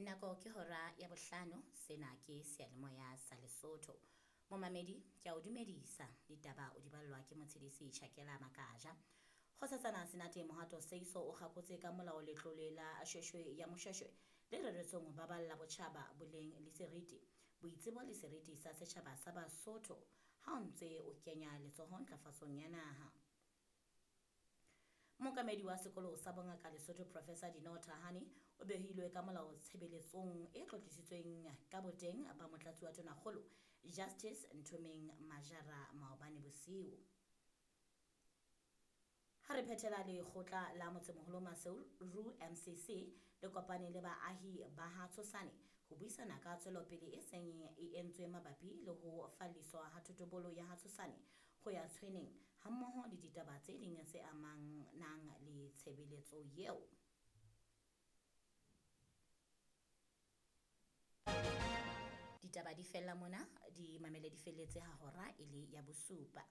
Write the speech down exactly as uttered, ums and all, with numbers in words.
Nako ke hora ya bohlano, sena ke seyalemoya sa Lesotho. Momamedi, ke a o dumedisa. Ditaba o di ballwa ke Motshedisi Tjhakela Makaja. Kgosatsana Senate Mohato Seiso o kgakotse ka molao letlole la Shweshwe ya Moshweshwe le reretsweng ho baballa botjhaba boleng le seriti, boitsebo le seriti sa setjhaba sa Basotho ha o ntse o kenya letsoho ntlafatsong ya naha. Mookamedi wa sekolo sa bongaka Lesotho Professor Dineo Thahane o behilwe ka molao tshebeletsong e tlotlisitsweng ka boteng ba motlatsi wa tonakgolo Justice Nthomeng Majara maobane bosiu. Ha re phethela lekgotla la motsemoholo Maseru M C C le kopane le baahi ba ha Tshosane ho buisana ka tswelopele e seng e entswe mabapi le ho falliswa ha thotobolo ya ha Tshosane ho ya Tshweneng hammoho le ditaba tse ding tse amanang le tshebeletso eo. Ditaba di fella mona, di mamele di felletse ha hora e le ya bosupa.